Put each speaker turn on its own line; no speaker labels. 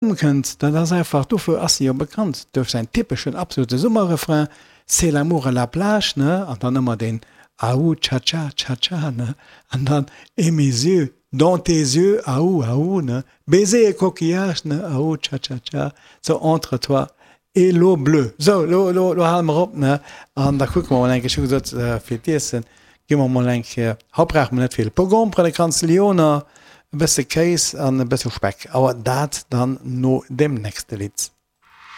Kënnt, dat ass einfach, dofir ass se jo bekannt, duerch säin typeschen absolute Summerrefrain, C'est l'amour à la plage, ne, an dann ëmmer deen Aou tcha-tcha, tcha-tcha, ne, an dann Et mes yeux dans tes yeux, aou, aou, ne, Baiser et coquillage, ne, aou tcha-tcha-tcha, so entre toi et l'eau bleue. Sou, lo, lo, lo hale mer op, ne, an da kucke mer mol eng Kéier, ech hu gesot, fir d'Iessen gi mer mol eng Kéier, haut brauche mer net vill, e puer Gromperen, e Kranz Lyoner, E bësse Kéis an e bësse Speck, awer dat dann no dem nächste Lidd.